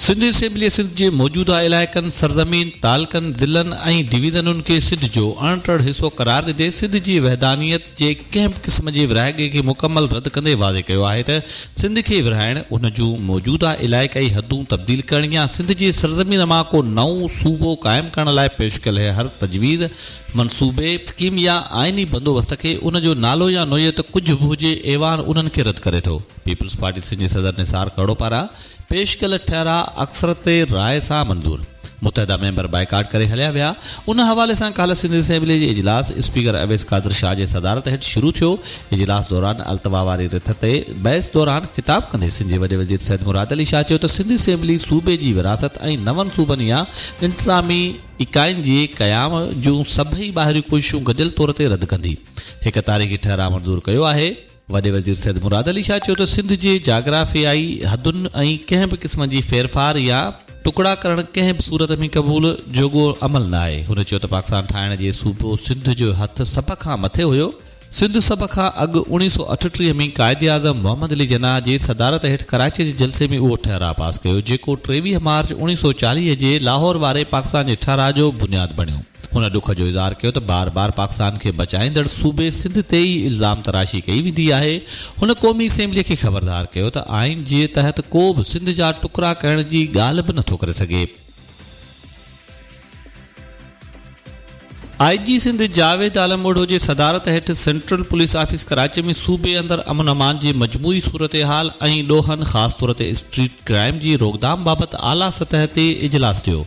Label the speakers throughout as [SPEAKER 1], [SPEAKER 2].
[SPEAKER 1] سنڌ اسيمبليء سنڌ جي موجوده علائقن، سرزمين، تعلقن، ضلعن ۽ ڊويزنن کي سنڌ جو اڻٽر حصو قرار ڏيندي سنڌ جي وحدانيت جي ڪنهن به قسم جي ورهاڱي کي مڪمل رد ڪندي واضح ڪيو آهي ته سنڌ کي ورهائڻ، ان جون موجوده علائقائي حدون تبديل ڪرڻ يا سنڌ جي سرزمين مان ڪو نئون صوبو قائم ڪرڻ لاء پيش ڪيل هر تجويز، منصوبي، اسڪيم يا آئيني بندوبست کي ان جو نالو يا نوعيت ڪجهه به هجي ايوان انهن کي رد ڪري ٿو. پيپلز پارٽي سنڌ جي صدر نثار کهڙو پاران پيش ڪيل ٺهراء اڪثريت راء سان منظور، متحده ميمبر بائيڪاٽ ڪري هليا ويا، ان حوالي سان ڪالهه سنڌ اسيمبلي جي اجلاس اسپيڪر اويس قادر شاهه جي صدارت هيٺ شروع ٿيو، اجلاس دوران التوا واري رٿ تي بحث دوران خطاب ڪندي سنڌ جي وڏي وزير سيد مراد علي شاهه چيو ته سنڌ اسيمبلي صوبي جي ورهاست ۽ نون صوبن يا انتظامي اڪائين جي قيام جون سڀئي ٻاهريون ڪوششون گڏيل طور تي رد ڪندي هڪ تاريخي ٺهراء منظور ڪيو آهي. وڏي وزير سيد مراد علي شاهه چيو ته سنڌ جي جاگرافيائي حدن ۽ ڪنهن به قسم جي ڦيرڦار يا ٽڪڙا ڪرڻ ڪنهن به صورت ۾ قبول جوڳو عمل نه آهي. هن چيو ته پاڪستان ٺاهڻ جي صوبو سنڌ جو هٿ سڀ کان مٿي هيو. سنڌ سڀ کان اڳ 1938 ۾ قائداعظم محمد علي جناح جي صدارت هيٺ ڪراچي جي جلسي ۾ اهو ٺهراء پاس ڪيو جيڪو 23 مارچ 1940 جي لاهور واري پاڪستان جي ٺهراء جو بنياد بڻيو. هن ڏک جو اظهار ڪيو ته بار بار پاڪستان کي بچائيندڙ صوبي سنڌ تي ئي الزام تراشي ڪئي ويندي آهي. هن قومي اسيمبلي کي خبردار ڪيو ته آئين جي تحت ڪو به سنڌ جا ٽڪرا ڪرڻ جي ڳالهه به نٿو ڪري سگهي. آء جي سنڌ جاويد عالم اوڍو جي صدارت هيٺ سينٽرل پوليس آفيس ڪراچي ۾ صوبي اندر امن امان جي مجموعي صورتحال ۽ ڏوهن خاص طور تي اسٽريٽ ڪرائيم جي روڪٿام بابت اعليٰ سطح تي اجلاس ٿيو.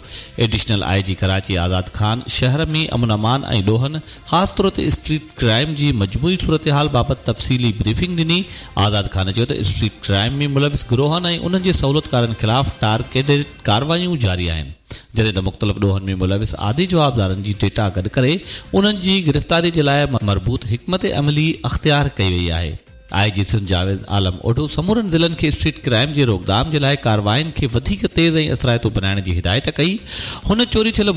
[SPEAKER 1] Additional I G Karachi Azad Khan شهر ۾ امن امان ۽ ڏوهن خاص طور تي اسٽريٽ ڪرائيم جي مجموعي صورتحال بابت تفصيلي بريفنگ ڏني. آزاد خان چيو ته اسٽريٽ ڪرائيم ۾ ملوث گروهن ۽ انهن جي سهولتڪارن خلاف ٽارگيٽڊ ڪارروايون جاري آهن جڏهن ته مختلف ڏوهن ۾ ملوث عادي جوابدارن جي ڊيٽا گڏ ڪري انهن جي گرفتاري جي لاء مربوط حڪمت عملي اختيار ڪئي وئي آهي. آء جي سنڌ جاويد عالم اوڍو سمورن ضلعن کي اسٽريٽ ڪرائيم جي روڪٿام جي لاء ڪاررواين کي وڌيڪ تيز ۽ اثرائتو بنائڻ جي هدايت ڪئي. هن چوري ٿيل.